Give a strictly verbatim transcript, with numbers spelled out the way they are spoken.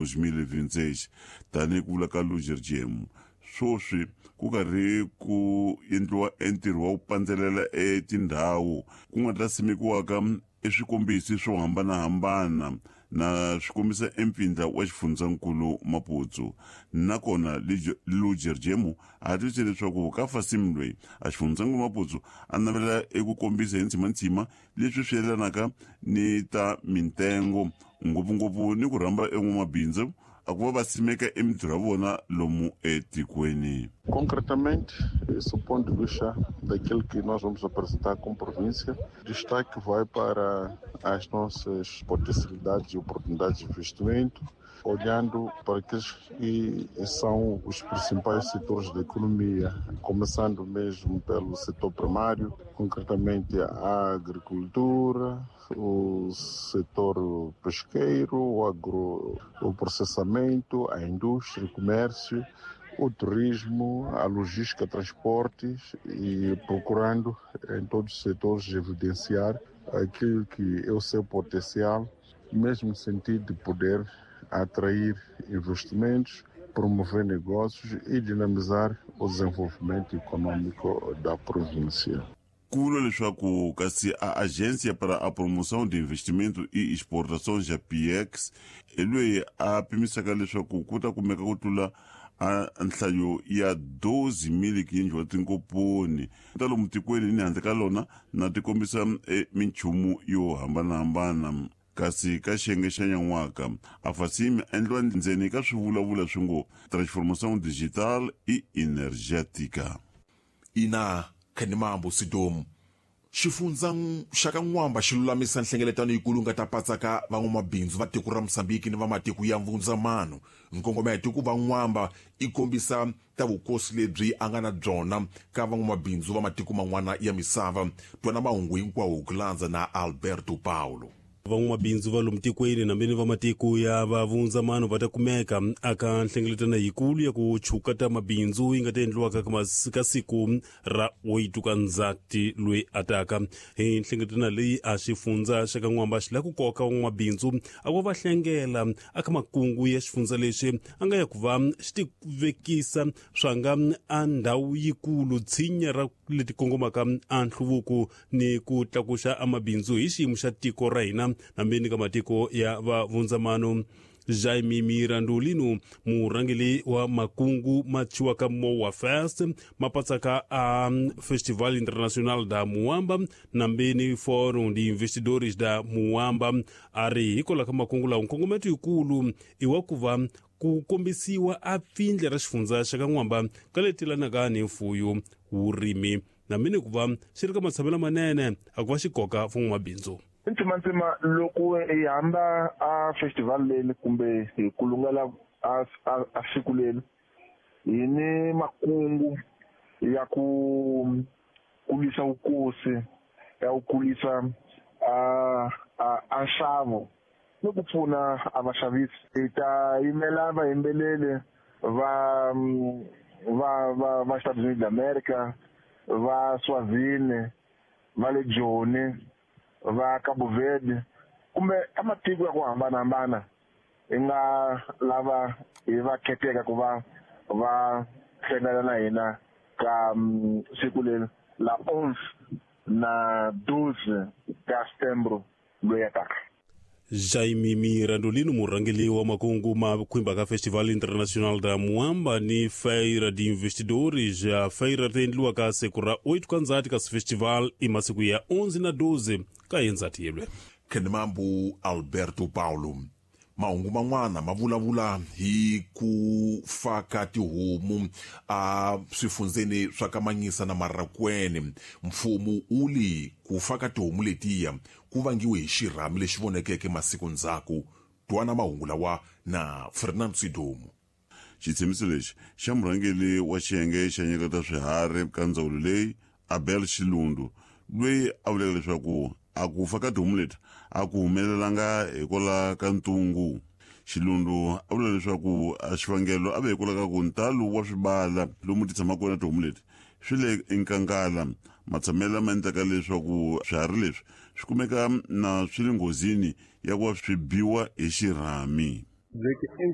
dois mil e vinte e seis. Tanihi ku vula ka Ludger Jemu, swoswi ku karhi ku endliwa entirho wa ku pandzelela etindhawu ku nga ta simekiwaka eswikombisi swo hambanahambana na swi kombisa empfindla wa xifundzankulu Maputo. Nakona Ludger Jemu a twisise leswaku ka Fasim loyi a xifundzankulu Maputo a navela eku kombisa hi ntsimantsima leswi swi yelanaka ni ta mintengo, ngopfungopfu ni ku rhamba en'wamabindzu a ku va va simeka emintirho ya vona lomu etikweni. Concretamente, esse ponto de vista daquilo que nós vamos apresentar como província, destaque vai para as nossas potencialidades e oportunidades de investimento, olhando para aqueles que são os principais setores da economia, começando mesmo pelo setor primário, concretamente a agricultura, o setor pesqueiro, o agro, o processamento, a indústria, o comércio, o turismo, a logística, transportes e procurando em todos os setores evidenciar aquilo que é o seu potencial, mesmo no sentido de poder atrair investimentos, promover negócios e dinamizar o desenvolvimento econômico da província. Ku vula leswaku kasi a Agência para a Promoção de Investimento e Exportações, a P I E X, hi loyi a pimisaka leswaku ku ta kumeka ku tlula a nhlayo ya doze mil quinhentos wa tinkomponi ta lomu tikweni ni handle ka lona na ti kombisa e, minchumu yo hambanahambana. Kasi ka xiyenge xa nyan'waka, a Fasim endliwa ndzeni ka swivulavula swi ngo transformação digital e energética. Ina Khanimambo Sidomu, xifundza xa ka N'wamba xi lulamisa nhlengeletano yikulu nga ta patsaka van'wamabindzu va tiko ra Mosambiki ni va matiko ya vundzamano. Nkongometo i ku va N'wamba i kombisa ta vukosi lebyi a nga na byona ka van'wamabindzu va matiko man'wana ya misava. Twana mahungu hinkwawo ku landza na Alberto Paulo. Van'wamabindzu va lomu tikweni nambeni va matiko ya vavundzamano va ta kumeka aka nhlengeletano yikulu ya ku chuka ta mabindzu yi nga ta endliwaka ka mas- ka siku ra oito ka Ndzati loyi ataka. Hi nhlengeletano leyi, a xifundza xa ka N'wamba xi lava ku koka van'wamabindzu a ku va hlengela aka makungu ya xifundza lexi a nga ya ku va xi tivekisa swanga a ndhawu yikulu tshinya ra leti kongomaka a nhluvuko ni ku tlakuxa amabindzu hi xiyimo xa tiko ra hina nambeni ka matiko ya vavundzamano. Jaime Mirandolino, murhangeli wa makungu ma thyiwaka Moa Fest, ma patsaka a Festival Internacional da Muamba nambeni Fórum de Investidores da Muamba, a ri hikwalaho ka makungu lawa, nkongometo yikulu i wa ku va ku kombisiwa a pfindle ra xifundza xa ka N'wamba ka leti ni mfuyo, vurimi nambeni ku va xi ri ka matshamelo manene a ku va xi koka van'wamabindzu. Ntsimantsima loko hi hamba a festival leni kumbe hi kulungela a a, a siku leni, hi ni makungu ya ku kulisa vukosi, ya ku kulisa a a a nxavo ni ku pfuna a vaxavisi. Hi ta yimela vayimbeleri va va va va Estados Unidos d'America, va Swazini, va le Joni, va Cabo Verde kumbe ka matiko ya ku hambanahambana hi nga lava hi va kheteka ku va va hlangana na hina ka um, siku leri la onze na doze ka setembro loyi ya taka. Jaime Mirandolino, murhangeli wa makungu ma khwimba ka Festival Internacional da Muamba ni Feira de Investidores. A feira ta endliwa ka siku ra oito ka Ndzati, kasi festival i masiku ya onze na doze ka yendzati yelwe. Khenimambu Alberto Paulo, mahungu man'wana ma vulavula hi ku fa ka tihomu a swifundzeni swa ka Manyisa na Marakwene. Mfumo wu li ku fa ka tihomu letiya ku vangiwe hi xirhami lexi vonekeke masiku ndzhaku. Twana mahungu lawa na Fernando Sidomu. Xitshembiso lexi xa murhangeri wa xiyenge xa nyika ta swiharhi ka ndzawulo leyi, Abel Xilundu, loyi a vuleke leswaku a ku fa ka tihomu leti a ku humelelanga hikwalaho ka ntungu. Xilundu a vula leswaku a xivangelo a ve hikwalaho ka ku ntalo wa swibala lomu ti tshamaka kona tihomu leti swi le enkangala, matshamelo lama endlaka leswaku swiharhi leswi swi kumeka na swi le nghozini ya ku va swi biwa hi xirhami. Dizer que em